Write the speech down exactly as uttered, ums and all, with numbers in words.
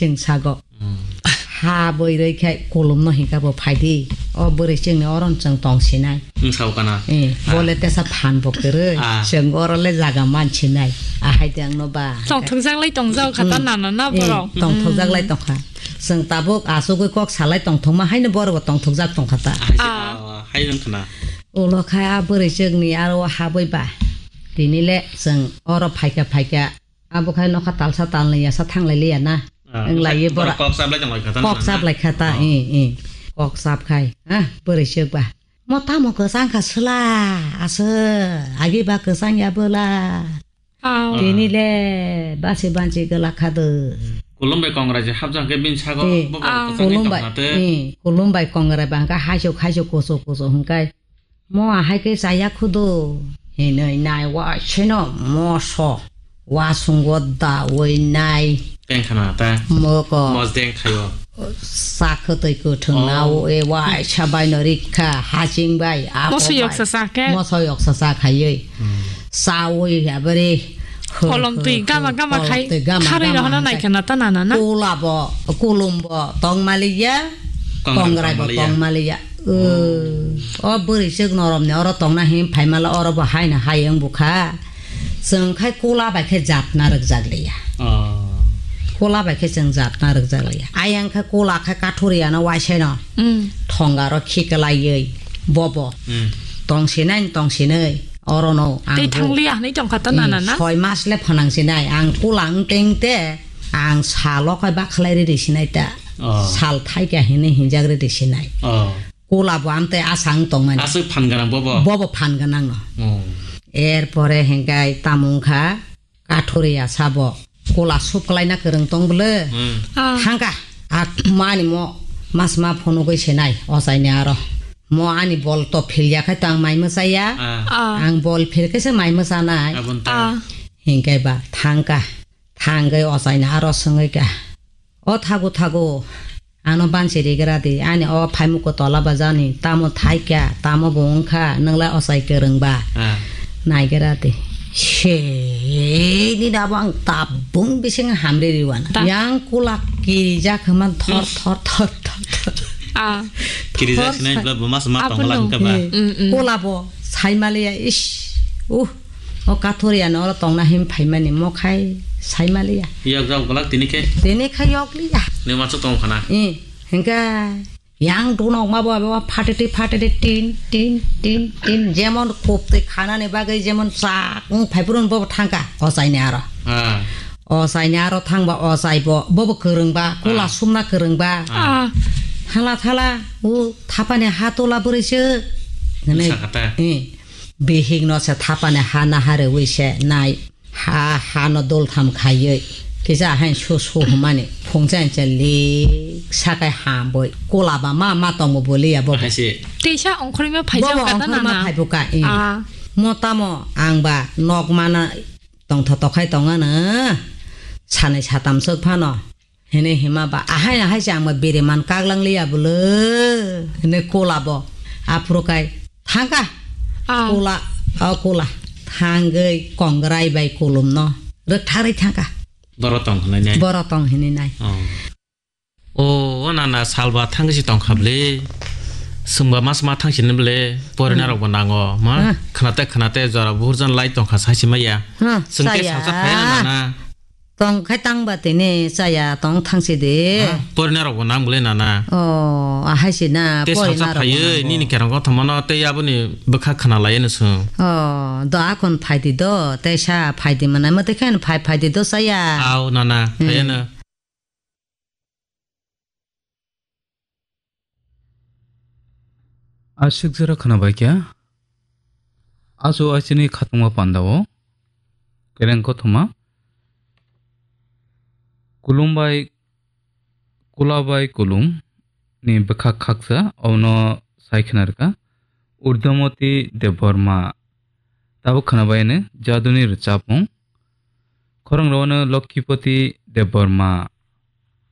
Chwng sago. Hmm. Ha bwrwi khai kulumno hinkha bo phaidi. O bwrwi chwngni oron chwng tongsinai. Wng sao kana? Eh, Ah. bole tesa phan bo kwrwi. Ah. Chwng oro le jaga mansinai. Ahai de angno ba. Tongthokjak lai tongjak kha ta Hmm. nana na Eh, borok. tongthokjak lai Hmm. tongkha. Chwng tabuk asugwi kok salai tongthokma haino borok bo tongthokjak tongkha ta. Ahai se, Ah. ah, hai wng khna. Ulo khai a bwrwi chwngni aro habwi ba. Tini le chwng oro phaikha phaikha. Abo khai nokha talsa talnwi yasa thanglai liya na. Ah, Wng lai ye borok bora. kok chap lai tong lai kha ta Kok na? chap lai kha ta, Ah. eh, eh. Kok chap khai. Ah, bwrwi chwk ba. Mo tamo kwchang kha sla, aswk, agi ba kwchang ya bwla. Ah. Tini le basi banchi gwla kha do. Kolom bai kongrai je hapjak khe bini sago Eh, bo bo Ah. kwchang Kolom ni bai, tong na te. eh, Kolom bai kongrai ba hwnkha haisuk, haisuk, kuchuk, kuchuk hwnkhe. Mo ahai khe chaya khudu hinwi nai wa seno moso wasungo dawi nai. Teng khana ta. Moko. Mos deng khayo. Sa khwtwi kwthwng Oh. nao e waisa bai no rikha haching bai abo Moso bai. yoksa sa khe? Moso yoksa sa khaiwi. Hmm. Sawi abari. Kolom twi gama gama khai Kolom twi gama kharwi gama rohorna hai nai khana ta nana na? Kola bo, kolom bo tong maliya, Kongrai kongrai bo tong maliya. tong maliya. O bwrwi chwk noromni oro tongna him phaimala oro bo haino hai wng bukha. Chwng khai kola bai khe jatna rwkjak liya. Oh. Kola bai khe chwng jatna rwkjak liya. Ayang khe kola khe kathori ano waiseno. Mm. Thongaro khiklaiwi bobo. Mm. Tongsinai tongsinai orono ang Tei bo- thangliya hinwi tongkha ta Mm, nana na? Soi mas le phanang sinai ang kola wng teng te ang salo khai bakhlai riri sinai ta. Oh. Sal thaika hinwi hinjak riri sinai. Oh. Kola bo amtwi asang tongmani. Aswk phan gwnang bobo? Bobo phan gwnang no. Oh. Erpore hingkai tamo wngkha kathoriya sabo. Kola sup kwlaina kwrwng tong bwle. Hmm. Ah. Thangka. A mani mo mas ma phunugwi senai ochaini aro. Mo ani bol to philya khai to ang mai mwchaya. Ah. Ah. Ang bol phil khe se mai mwchanai. Aboni ta. Ah. Hingkai ba thangka. Thangwi ochaini aro swngwi ka. O thago thago, ano bansi rigra di, ani o phaimukko tola bajani, tamo thaikha, tamo bo wngkha, nwngla ochai kwrwng ba. Ah. Naigra di. Se, nini abo ang tabung bising hamri riwana. Ta- Yang kulak kirijak hwman thor, Hmm. thor, thor, thor, thor. Ah. Kirijak Thor sinai sa- bla buma sama Abono. tongla hwnkha ba. Eh, Mm, mm. Kola bo, saimaliya, ish, uh. O kathoriya no oro tongna him phaimani mo khai saimaliya. Yok jok golak tini khe. Tini khai yok liya. Ni machu tong khana. Eh, hingka yang duna okma bo abo phatete phatete tin tin tin tin jemon khoptwi khanani bagwi jemon chak wng phaiphuru bo thangka ochaini aro. Ah. Ochaini aro thangba ochai bo bo bo kwrwngba kola Ah. sumna kwrwngba. Ah. Hala thala u thapani ha tola bwrwi se. Hwnwi. Sakata. Eh. Bihik no se thapani ha naharwi se nai. Ha, ha no dol tham khaiwi. Kisa hain su su humani. Phungcha incha lik sakai hamboi. Kola ba ma ma tongo boliya bo. Hai se. Teisa ongkhorima Bo phaijak bo kata ongkhorima nana. phaibuka, eh. Ah. Mo tamo ang ba nok mana tongtho tokhai tongano. Sanai satam sok phano. Hene hima ba, ahai ahai se ang ba bere man kaglang liya bolo. Hene kola bo. Aphuru kai thangka. Ah. Kola, o kola. Thangwi kongrai bai kolom no. Rwktharwi thangka. Boro tong hinwi nai. Boro tong hinwi nai. Oh. Oh, o nana salba thangsi tong khabli. Sungba mas ma thangsi ni bole. Porina Hmm. rok bo nango. Ma, Hmm. khnate khnate jora burjan lai tong kha saisi maya. Hmm, Sungke saya. salsa phai nana. Tong khai tang ba tini chaya tong thangsi de. Ha? Porina rok bo nang bole nana. Oh, ahai si na Te porina salsa rok bo phaiye, nango. nini kerong kothoma no, te aboni bwkha khna lai no sung. Oh, do akon phai di do, te sa phai di mana, mo te khen phai phai di do chaya. Au nana, Hmm. phaiye no. Aswk jora khwnabaikha, achu aichini khatungma pandao kereng kothoma, kulum bai, kula bai kulum ni bwkhak khaksa, obono sai khwnarwkha Urdamoti Debbarma. Tabuk khwnabaino jaduni rwchapmung. Khorang rwano Lokkipoti Debbarma.